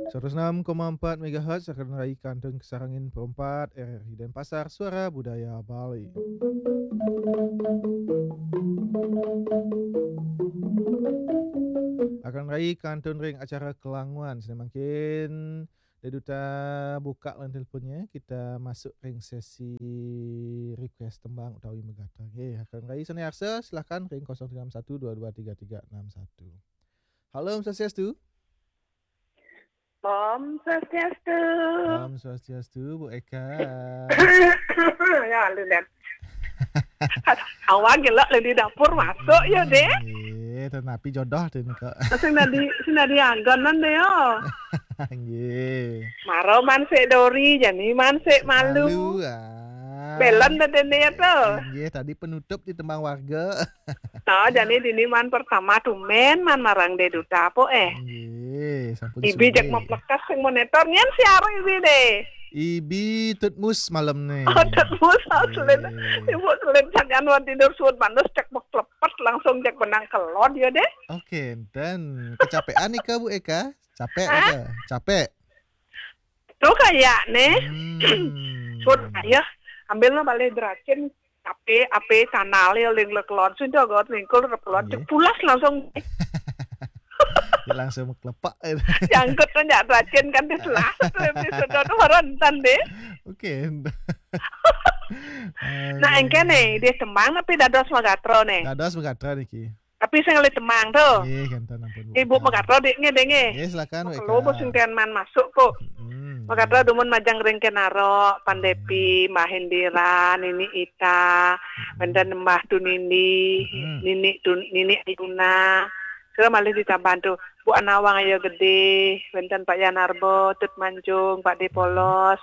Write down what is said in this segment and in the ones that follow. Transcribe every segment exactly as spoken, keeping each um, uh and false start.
Seratus enam koma empat megahertz akan rai kantun kasarengin perempat R R I Denpasar, Suara Budaya Bali. Akan rai kantun ring acara Kelanguan. Sane mangkin Dek Duta buka lan teleponnya, kita masuk ring sesi request tembang utawi megata. Nggih, akan rai sane arsa, silakan ring kosong tiga enam satu dua dua tiga tiga enam satu. Halo, Om Swastiastu. Om Swastiastu. Om Swastiastu, Bu Eka. Ya, lu lihat. Awak gelak di dapur masuk ya, Dek. Nggih, tenapi jodoh tu ni, Kak. Sing nadi, sing nadi anggonan deh, yo. Nggih. Maro man sik dori, jani man sik malu. Malu, ah. Belon dah dene ya tu. Nggih, tadi penutup di tembang warga. Nah, jani dini man pertama tumen man marang Dek Duta apa, eh? Nggih, sampun Ibi jak sore. Maplekas sing monitor, nyen siar Ibi deh. Ibi tutmus malam ni. Oh, tutmus, oh, selin. Nggih. Ibu selin sajan wan tidur suut manus, cek meklepet langsung jak benang kelod ya deh. Oke, dan kecapean nih, Kak, Bu Eka? Capek Hah? Apa? Capek? Tu kayak nih. Hmm. Suut ya, ambil lah balik deracin. Ape, ape, tanah le ling le kelon, sudah got lingkul le kelon, Nggih. Cek pulas langsung. Ya, langsung meklepek itu. Jangkut tu jak deracin kan, dia selah tu episode tu baru entan deh. Oke. Nah, engke nih, dia tembang tapi dados magatra nih. Dados magatra niki. Tapi sing ngalih tembang tu. Nggih, kenten ampun, Bu. Ibu Eka. Magatra dek nggih, dek nggih. Nggih, silakan, Bu Eka. Kalau bos sing ten man masuk kok. Hmm. Magatra dumun majeng ring Kenaro, Pandepi, Mbah Indira, Nini Ita, Hmm. wenten Mbah Tunindi, Hmm. Nini Tun-, Nini Ayuna. Kira malih ditambahan tu, Bu Anawang Ayo Gede, wenten Pak Yanarbo, Tut Manjung, Pak De Polos,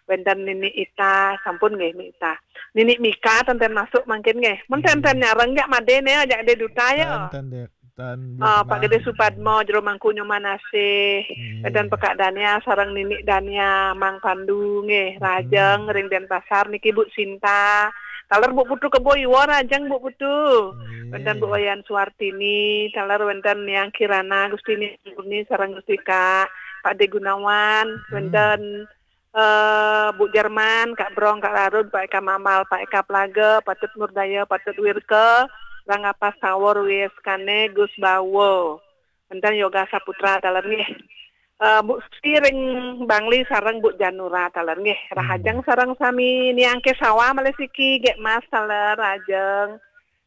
wenten Nini Ita, sampun nggih, Nini Ita. Nini Mika tenten masuk mangkin nggih. Mun Hmm. tenten nyareng jak made ne, jak Dek Duta ya. Tenten, Dek. Tan Ah, Pak Gede Supadmo, Jero Mangku Nyoman Asih. Nggih. Wenten Pekak Dania sareng Nini Dania, Mang Pandu nggih, Hmm. Rahajeng ring Denpasar niki Bu Sinta. Taler Bu Putu Kebo Iwa, rahajeng Bu Putu. Nggih. Wenten Bu Wayan Suartini, taler wenten Niang Kirana, Gusti Niang Murni sareng Gusti Kak, Pak De Gunawan, Hmm. wenten eh, Bu Jerman, Kak Brong, Kak Larud, Pak Eka Mamal, Pak Eka Plaga, Patut Murdaya, Patut Wirke, Ranggapas Tawor, Wieskane, Gus Bawo. Wenten Yoga Saputra taler nggih. Eh, Bu Sri ring Bangli sareng Bu Janura taler nggih. Rahajeng Hmm. sareng sami Niang Kesawa malih siki, Gek Mas taler, rahajeng.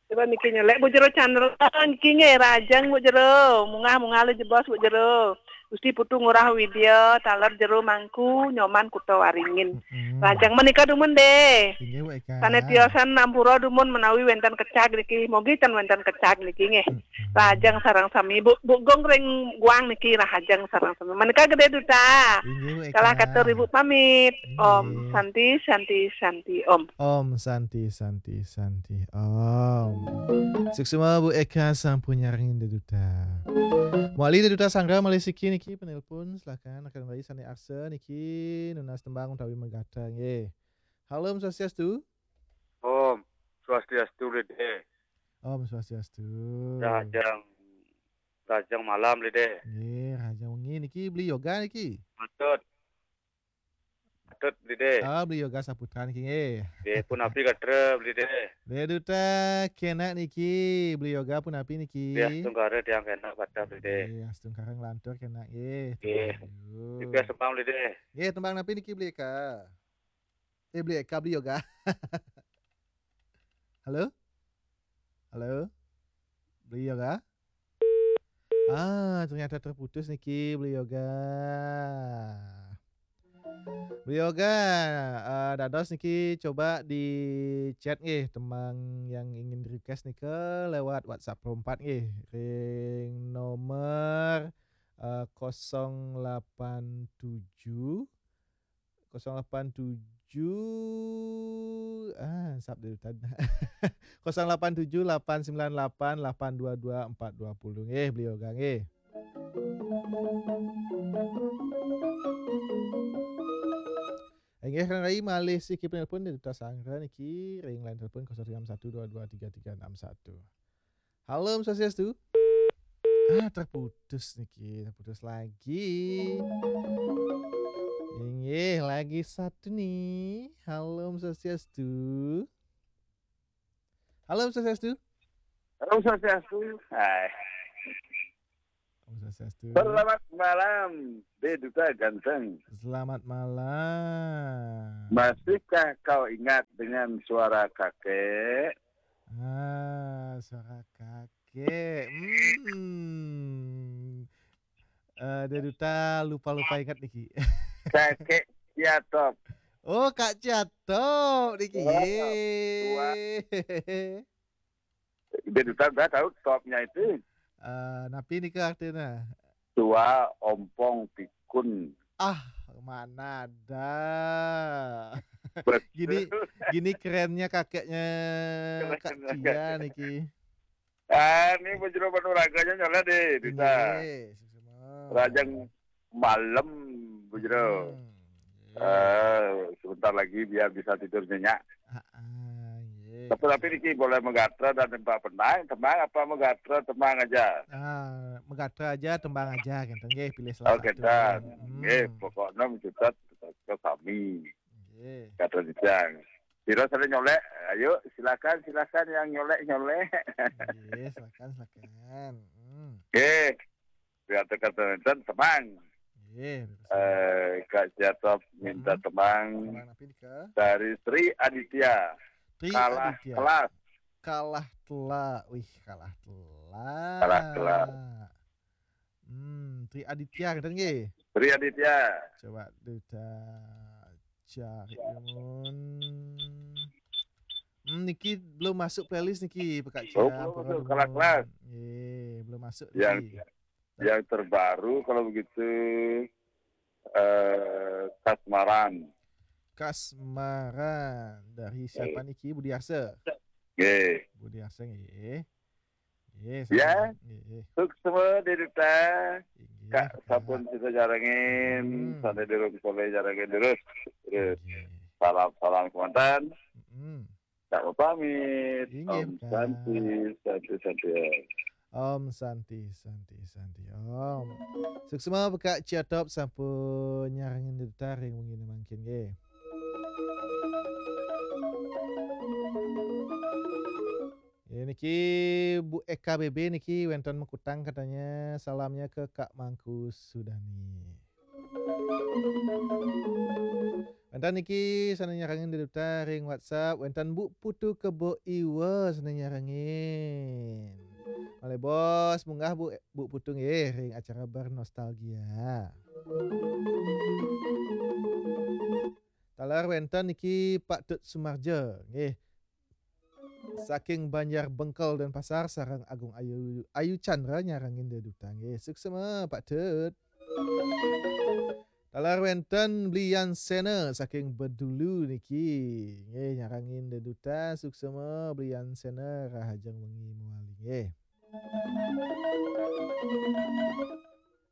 Coba niki nyelek Bu Jero Chandra niki nggih, rahajeng Bu Jero. Mungah-mungah le jebos Bu Jero. Gusti Putu Ngurah Widya, taler Jero Mangku, Nyoman Kuta Waringin. Mm-mm. Rahajeng menika dumun deh. Inggih, Bu Eka. Sane tiosan ampura dumun menawi wenten kecag niki. Mogi ten wenten kecag niki nggih. Mm-mm. Rahajeng sareng sami Bu, Bu Gong ring Guang niki rahajeng sareng sami. Menika Gede Duta. Inggih, Bu Eka. Salah katur Ibu pamit. Inggih. Om Santi, Santi, Santi, Om. Om Santi, Santi, Santi, Om. Suksma Bu Eka sampun nyarengin Dek Duta. Mawali Dek Duta Sanggra malih siki niki penelpon, silakan rekan bayi sane arsa niki nunas tembang utawi megata nggih. Halo, Om Swastiastu. Om Swastiastu, Dede. Om Swastiastu. Rahajeng, rahajeng malam, Dede. Nggih, rahajeng wengi niki Beli Yoga niki. Patut. Patut, Beli De. Ah, Beli Yoga Saputra niki nggih. Nggih, punapi gatra, Beli De. Dek Duta kenak niki, Beli Yoga punapi niki. Nggih, astungkara tiang kenak gatra, Beli De. Nggih, astungkara nglantur kenak nggih. Nggih. Aduh. Juga sembang, Beli De. Nggih, tembang napi niki, Beli Eka? Eh, Beli Eka, Beli Yoga. Halo? Halo? Beli Yoga? Ah, ternyata terputus niki Beli Yoga. Beli Yoga, eh, dados niki coba di chat nggih tembang yang ingin request nika lewat WhatsApp perempat nggih. Ring nomor, eh, kosong lapan tujuh, kosong lapan tujuh, ah, sap dulu tadi. Kosong lapan tujuh, lapan sembilan lapan, lapan dua dua, empat dua puluh. Nggih, Beli Yoga nggih. Inggih, Kang Rai, malih siki penelpon Dek Duta Sanggra niki, ring line telepon kosong tiga enam satu dua dua tiga tiga enam satu. Halo, Om Swastiastu. Ah, terputus niki, terputus lagi. Inggih, lagi satu nih. Halo, Om Swastiastu. Halo, Om Swastiastu. Om Swastiastu. Hai. Om Swastiastu. Selamat malam, De Duta Ganteng. Selamat malam. Masihkah kau ingat dengan suara kakek? Ah, suara kakek. Hmm. Eh, De Duta lupa-lupa ingat niki. Kakek Ciatop. Oh, Kak Ciatop niki. Wah, Ye. De Duta udah tahu topnya itu. Eh, napi nika artinya? Tua ompong pikun. Ah, mana ada. Betul. Gini, gini kerennya kakeknya Kak Kerennya Cia niki. Ah, ini Bujro Panuraganya nyala deh, Duta. Nggih, sama-sama. Rajang malam, Bujro. Hmm, nggih. Eh, sebentar lagi biar bisa tidur nyenyak. Ah, ah, nggih. Tapi tapi niki boleh megatra dan tembang penang, tembang apa megatra tembang aja. Ah, megatra aja, tembang aja gitu. Nggih, pilih salah Oke, satu. dan Hmm. nggih, pokoknya mencutat ke kami Nggih. kata Jang. Kira saya nyolek, ayo silakan silakan yang nyolek nyolek. Nggih, silakan silakan. Hmm. Nggih, kata kata dan tembang. Nggih. Eh, Kak Jatop minta Hmm. tembang Tembang napi nika? Dari Sri Aditya. Tri Kalah Aditya. kelas. Kalah telak. Wih, kalah telak. Kalah telak. Hmm, Tri Aditya ngeten nggih. Sri Aditya. Coba Duta cari dulu. Hmm, niki belum masuk playlist niki, Pak Kak Oh, Cia, belum pura masuk, dulu. kalah kelas. Nggih, belum masuk Yang niki. yang terbaru kalau begitu eh Kasmaran. Kasmaran dari siapa niki? Budi Arsa. Nggih. Budi Arsa nggih. Nggih, Ya. sama. Nggih. Suksma De Duta. Inggih, Kak Kak. Sampun kita jarengin, Hmm. Sandi Dirun Soleh jarengin terus. Terus Nggih. Salam-salam kemanten. Mm-mm. Tak mau pamit. Inggih, Om Kak. Santi, Santi, Santi. Om Santi, Santi, Santi, Om. Suksma Pak Kak Ciatop sampun nyarengin De Duta ring wengi mangkin nggih. Ya, niki Bu Eka B B niki wenten Mekutang katanya, salamnya ke Kak Mangku Sudani. Wenten niki sane nyarengin De Duta ring WhatsApp, wenten Bu Putu Kebo Iwa sane nyarengin. Malih bos munggah Bu, Bu Putu nggih ring acara Bernostalgia. Taler wenten niki Pak Tut Sumarja nggih. Saking Banjar Bengkel Denpasar sareng Agung Ayu, Ayu Chandra nyarengin De Duta nggih. Suksma Pak Tut. Taler wenten Blian Sena saking Bedulu niki. Nggih, nyarengin De Duta, suksma Blian Sena, rahajeng wengi mawali nggih.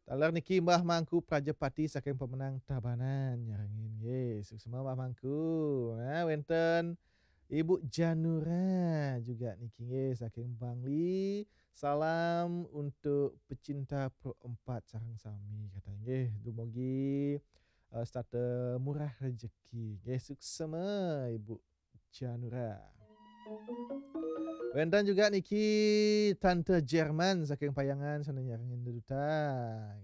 Taler niki Mbah Mangku Prajapati saking Pemenang Tabanan nyarengin nggih. Suksma Mbah Mangku. Nah, wenten Ibu Janura juga niki nggih saking Bangli. Salam untuk pecinta Pro empat sareng sami katanya nggih. Dumugi eh, setata murah rezeki. Nggih, suksma Ibu Janura. Wenten juga niki Tante Jerman saking Payangan sane nyarengin De Duta.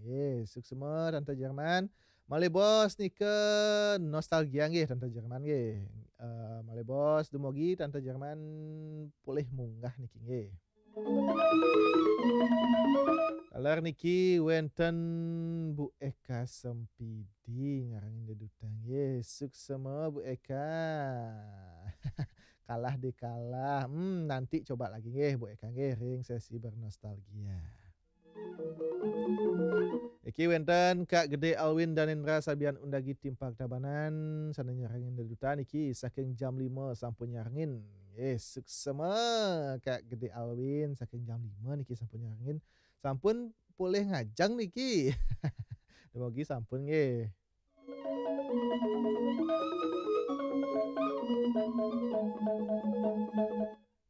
Nggih, suksma Tante Jerman. Malih bos nika nostalgia nggih Tante Jerman nggih. Eh, malih bos dumugi Tante Jerman polih munggah niki nggih. Taler niki wenten Bu Eka Sempidi nyarengin De Duta nggih. Suksma Bu Eka. Kalah deh kalah. Hmm, nanti coba lagi nggih Bu Eka nggih ring sesi bernostalgia. Iki wenten Kak Gede Alwin Danendra Sabian Undagi Timpak Tabanan sane nyarengin De Duta niki saking jam lima sampun nyarengin. Eh, suksma Kak Gede Alwin saking jam lima niki sampun nyarengin. Sampun polih ngajeng niki. Dumugi sampun nggih.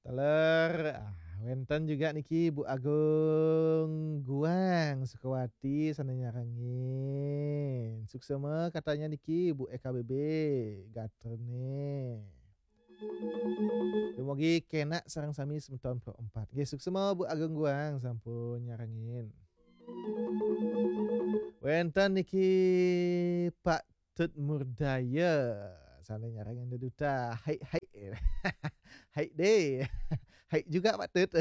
Taler, ah, Wénten juga niki Bu Agung Guang Sukawati sané nyarengin. Suksema katanya niki Bu E K B B gatrané. Dumugi kénak sareng sami semeton Pro empat. Nggih, suksema Bu Agung Guang sampun nyarengin. Wénten niki Pak Tut Murdaya sané nyarengin deduta. Hai, hai. Hai deh. Hai juga Pak Tut.